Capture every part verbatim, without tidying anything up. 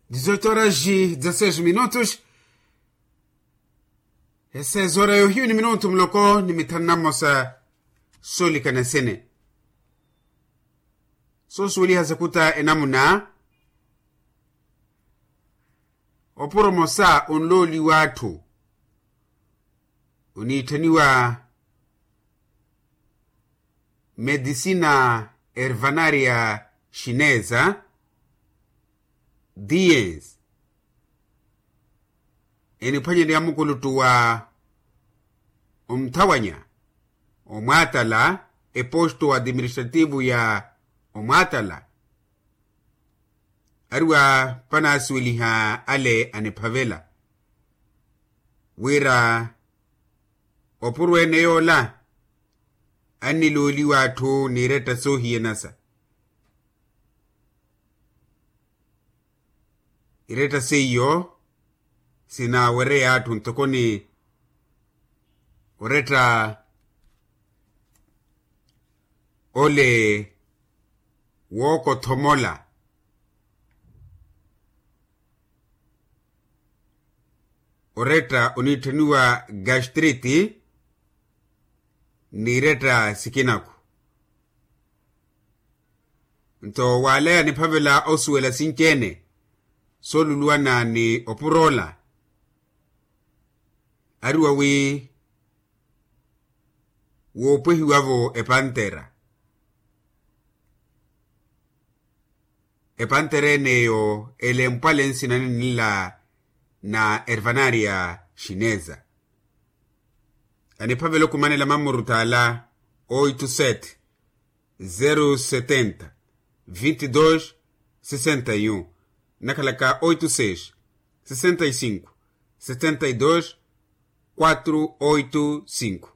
Dizoito horas e dezasseis minutos. Esezora yohiyu ni minutu muloko ni mithanu na mmosa. Soolikana sene soosuweliha sakuta enamuna. Opuro mosa onlooliwa atthu oniitthaniwa medisina ervanaria xineza diens eniphwanyerya mukuluttu wa omthawanya omwaatala eposto administrativo ya omwaatala. Ariwa panasuweliha ale aniphavela wira opurweene yoola annilooliwa atthu n'iretta soohiyanasa. Iretta seiyo sinaawereya atthu ntoko ni oretta ole wookothomola oretta oniitthaniwa gastriti n'iretta sikinaku. Nto waalaya niphavela osuwela sinci-ene sooluluwana ni opuroola ariwa wi woopwehiwavo epantera. Epantera en'eyo elempwale nsina ninla na ervanaria xineza. Aniphavela okumanela mamurutala oito sete zero setenta vinte e dois sessenta e um. Nakhalaka oito seis sessenta e cinco setenta e dois quatro oito cinco.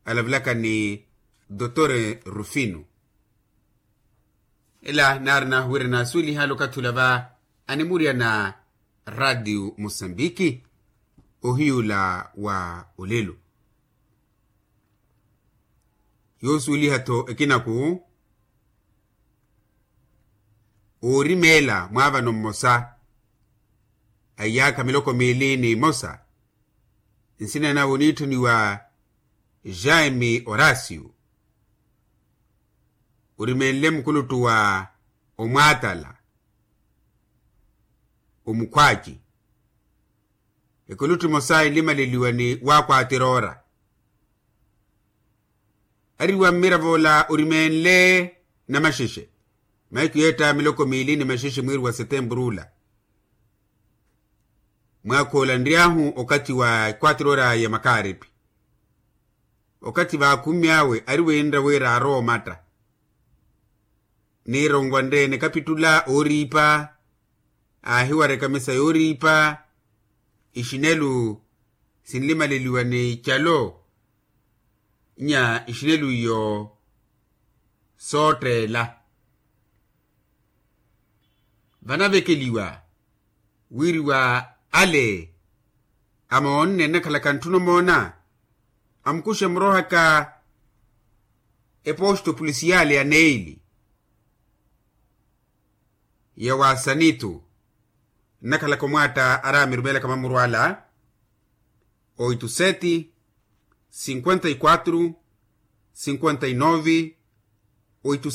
Alavelaka ni dotor rufino. Ela naari nahuwira naasuweliha alokatthi olava animurya na radio mosambiki ohiyula wa olelo. Yoosuweliha-tho ekinaku oorimeela mwaavano mmosa a iyaakha miloko miili ni mmosa nsina nawe oniitthuniwa jaime horacio. Orimeenle mukuluttu wa omwaatala omukhwaaci. Ekuluttu emosa enlimaleliwa ni waakwaatir'ora. Ariwa mmiravo ola orimeenle namaxexe mahiku yeetta miloko miili ni maxexe mwiiri wa setempuru ola. Mwaakha ola nry'ahu okathi wa ekwaatir'ora ya makaaripi. Okathi vaakhumme awe ari weenra wira aarowa omatta. Niironwanre nikapittula ooriipa aahiwara ekamisa yooriipa. Ixinelu sinlimaleliwa ni calo nya ixinelu iyo sootteela. Vanavekeliwa wiiriwa ale amoonne nnakhalaka ntthuna omoona. Amukuxe murohaka eposto pulisiyale ya neili ya wa sanitu nnakhalaka omwaatta araamirumeelaka mamuru ala. Oito sete cinquenta e quatro cinquenta e nove oito.